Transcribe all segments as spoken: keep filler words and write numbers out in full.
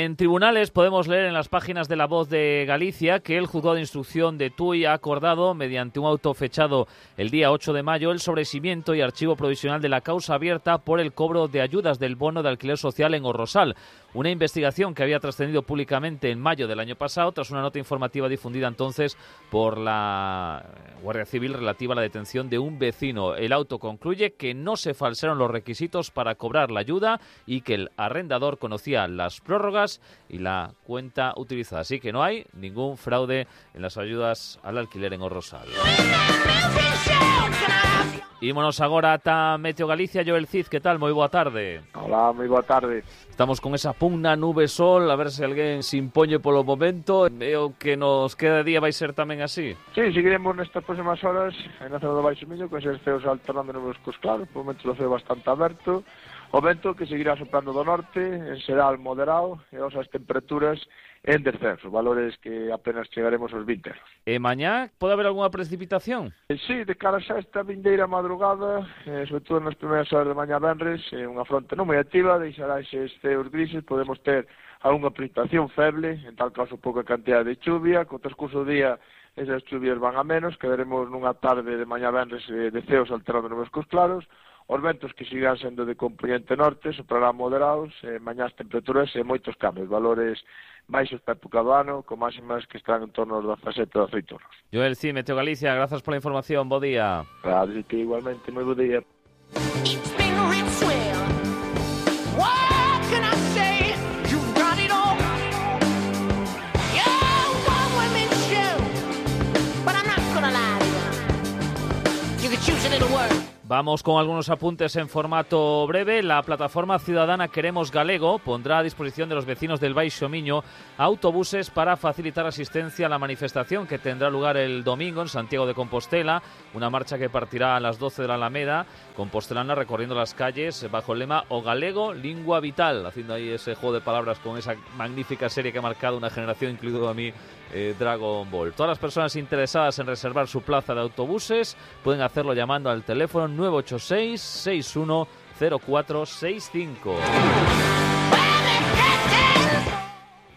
En tribunales podemos leer en las páginas de La Voz de Galicia que el juzgado de instrucción de Tui ha acordado, mediante un auto fechado el día ocho de mayo, el sobreseimiento y archivo provisional de la causa abierta por el cobro de ayudas del bono de alquiler social en O Rosal. Una investigación que había trascendido públicamente en mayo del año pasado tras una nota informativa difundida entonces por la Guardia Civil relativa a la detención de un vecino. El auto concluye que no se falsearon los requisitos para cobrar la ayuda y que el arrendador conocía las prórrogas y la cuenta utilizada. Así que no hay ningún fraude en las ayudas al alquiler en O Rosal. Ímonos agora ata Meteo Galicia. Joel Cid, que tal? Moi boa tarde. Hola, moi boa tarde. Estamos con esa pugna nube-sol, a ver se alguén se impoñe polo momento. E o que nos queda de día vai ser tamén así? Sí, seguiremos nestas próximas horas na zona do Baixo Miño, con eses ceos alternando nubes cos claros, por momento o ceo bastante aberto. O vento que seguirá soprando do norte, en xeral moderado, e as temperaturas en descenso, valores que apenas chegaremos aos vinte graus. E mañá pode haber algunha precipitación? Sí, de cara a esta vindeira madrugada, eh, sobre todo nas primeiras horas de mañá venres, eh, unha fronte non moi activa, deixará eses ceos grises, podemos ter algunha precipitación feble, en tal caso pouca cantidad de chuvia, co transcurso do día esas chuvias van a menos, quedaremos nunha tarde de mañá venres eh, de ceos alterando nubes cos claros. Os ventos que sigan sendo de componente norte soprarán moderados, eh, mañás temperaturas e moitos cambios, valores baixos para época do ano, con máximas que están en torno aos dezasete ou dezaoito graus. Joel Cid, Meteo Galicia, grazas pola información, bo día. Claro, que igualmente, moi bo día. Vamos con algunos apuntes en formato breve. La plataforma ciudadana Queremos Galego pondrá a disposición de los vecinos del Baixo Miño autobuses para facilitar asistencia a la manifestación que tendrá lugar el domingo en Santiago de Compostela, una marcha que partirá a las doce de la Alameda compostelana, recorriendo las calles bajo el lema O Galego, Lingua Vital, haciendo ahí ese juego de palabras con esa magnífica serie que ha marcado una generación, incluido a mí, eh, Dragon Ball. Todas las personas interesadas en reservar su plaza de autobuses pueden hacerlo llamando al teléfono nueve ocho seis, seis uno cero cuatro seis cinco.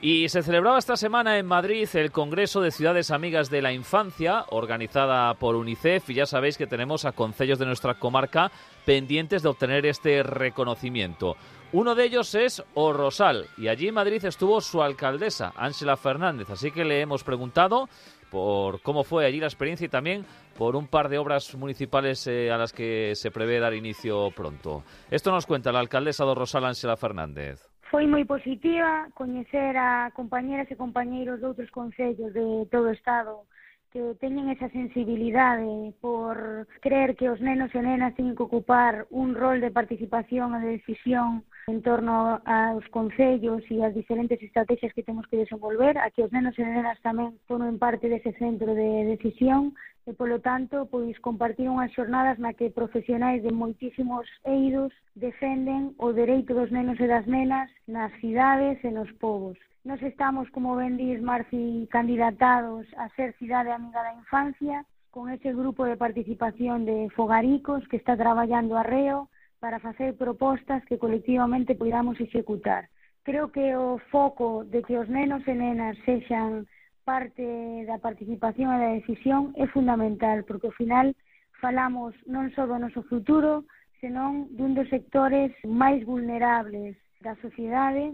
Y se celebraba esta semana en Madrid el Congreso de Ciudades Amigas de la Infancia, organizada por UNICEF, y ya sabéis que tenemos a concellos de nuestra comarca pendientes de obtener este reconocimiento. Uno de ellos es O Rosal, y allí en Madrid estuvo su alcaldesa, Ángela Fernández, así que le hemos preguntado por cómo fue allí la experiencia y también por un par de obras municipales eh, a las que se prevé dar inicio pronto. Esto nos cuenta la alcaldesa do Rosal, Ángela Fernández. Foi moi positiva coñecer a compañeras e compañeiros de outros concellos de todo o Estado que teñen esa sensibilidade por creer que os nenos e nenas teñen que ocupar un rol de participación e de decisión en torno aos concellos e as diferentes estrategias que temos que desenvolver, a que os nenos e nenas tamén formen parte dese centro de decisión e, polo tanto, pois compartir unhas xornadas na que profesionais de moitísimos eidos defenden o dereito dos nenos e das nenas nas cidades e nos povos. Nos estamos, como ben dis, Marci, candidatados a ser Cidade Amiga da Infancia, con ese grupo de participación de fogaricos que está traballando arreo para facer propostas que colectivamente podamos executar. Creo que o foco de que os nenos e nenas sexan parte da participación e da decisión é fundamental, porque ao final falamos non só do noso futuro, senón dun dos sectores máis vulnerables da sociedade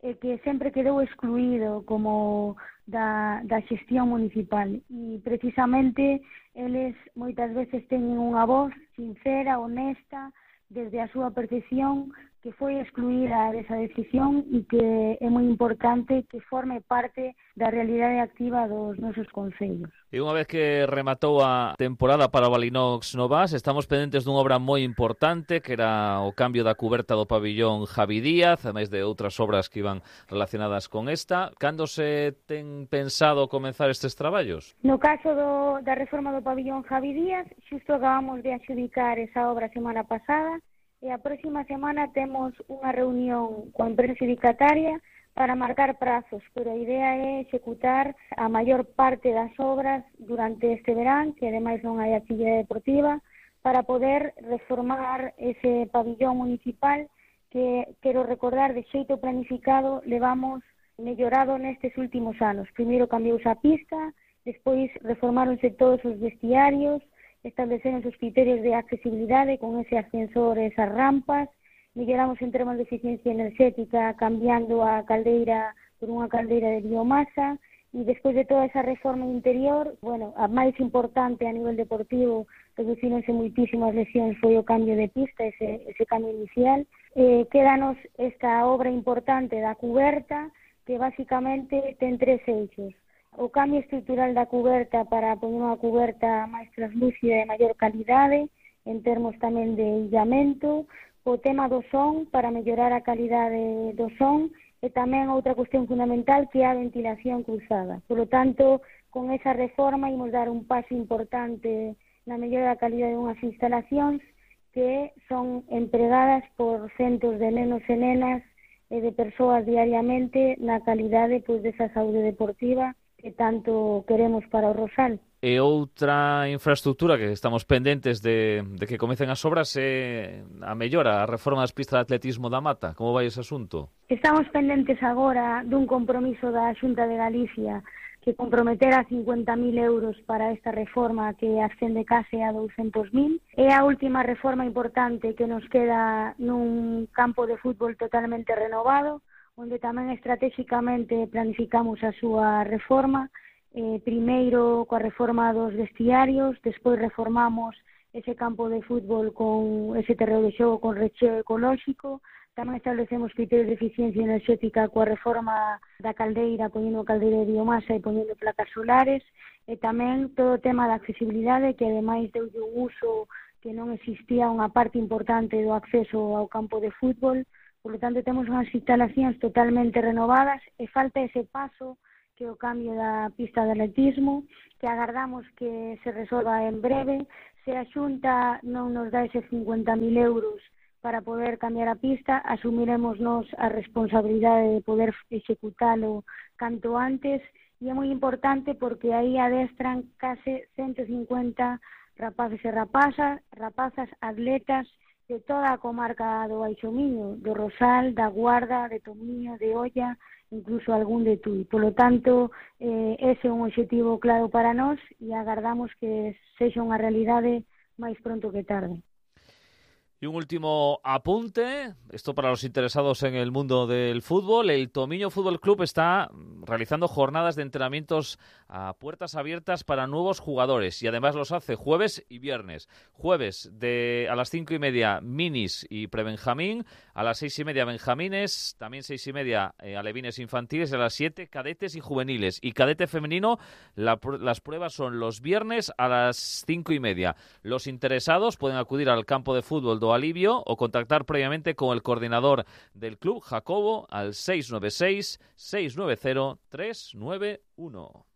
e que sempre quedou excluído como da, da xestión municipal. E precisamente eles moitas veces teñen unha voz sincera, honesta, desde a súa percepción, que foi excluída desa decisión e que é moi importante que forme parte da realidade activa dos nosos concellos. E unha vez que rematou a temporada para o Balinox Novas, estamos pendentes dunha obra moi importante, que era o cambio da cuberta do pabillón Javi Díaz, ademais de outras obras que iban relacionadas con esta. Cando se ten pensado comenzar estes traballos? No caso do, da reforma do pabillón Javi Díaz, xusto acabamos de adxudicar esa obra a semana pasada, e a próxima semana temos unha reunión coa empresa adxudicataria para marcar prazos, pero a idea é executar a maior parte das obras durante este verán, que ademais non hai actividade deportiva, para poder reformar ese pabillón municipal que, quero recordar, de xeito planificado, levamos mellorado nestes últimos anos. Primeiro cambiouse a pista, despois reformáronse todos os vestiarios, estableceron os criterios de accesibilidade con ese ascensor e esas rampas, melloramos en termos de eficiencia enerxética cambiando a caldeira por unha caldeira de biomasa, e despois de toda esa reforma interior, bueno, a máis importante a nivel deportivo, reducironse moitísimas lesións, foi o cambio de pista, ese, ese cambio inicial. Eh, quédanos esta obra importante da cuberta, que basicamente ten tres eixos. O cambio estrutural da cuberta para poñer unha cuberta máis translúcida e de maior calidade, en termos tamén de illamento, o tema do son para mellorar a calidade do son, e tamén outra cuestión fundamental que é a ventilación cruzada. Por lo tanto, con esa reforma imos dar un paso importante na mellora da calidade de unhas instalacións que son empregadas por centos de nenos e nenas e de persoas diariamente na calidade pois, desa saúde deportiva que tanto queremos para o Rosal. E outra infraestructura que estamos pendentes de, de que comecen as obras é a mellora, a reforma das pistas de atletismo da Mata. Como vai ese asunto? Estamos pendentes agora dun compromiso da Xunta de Galicia que comprometera cincuenta mil euros para esta reforma que ascende case a douscentos mil. É a última reforma importante que nos queda nun campo de fútbol totalmente renovado, onde tamén estratégicamente planificamos a súa reforma. Eh, primeiro coa reforma dos vestiarios, despois reformamos ese campo de fútbol con ese terreo de xogo con recheo ecolóxico, tamén establecemos criterios de eficiencia enerxética coa reforma da caldeira, poñendo caldeira de biomasa e poñendo placas solares, e tamén todo o tema da accesibilidade, que ademais deu un uso que non existía unha parte importante do acceso ao campo de fútbol. Por lo tanto, temos unhas instalacións totalmente renovadas e falta ese paso que o cambio da pista de atletismo, que agardamos que se resolva en breve. Se a Xunta non nos dá ese cincuenta mil euros para poder cambiar a pista, asumiremos nos a responsabilidade de poder executalo canto antes, e é moi importante porque aí adestran case ciento cincuenta rapaces e rapazas, rapazas atletas de toda a comarca do Baixo Miño, do Rosal, da Guarda, de Tomiño, de Oia, incluso algún de Tui. Por lo tanto, eh, ese é un objetivo claro para nós e agardamos que sexa unha realidade máis pronto que tarde. Y un último apunte, esto para los interesados en el mundo del fútbol. El Tomiño Fútbol Club está realizando jornadas de entrenamientos a puertas abiertas para nuevos jugadores y además los hace jueves y viernes. Jueves de a las cinco y media minis y prebenjamín, a las seis y media benjamines, también seis y media eh, alevines infantiles, y a las siete cadetes y juveniles. Y cadete femenino, la, las pruebas son los viernes a las cinco y media. Los interesados pueden acudir al campo de fútbol do Alivio o contactar previamente con el coordinador del club, Jacobo, al seis nueve seis, seis nueve cero, tres nueve uno.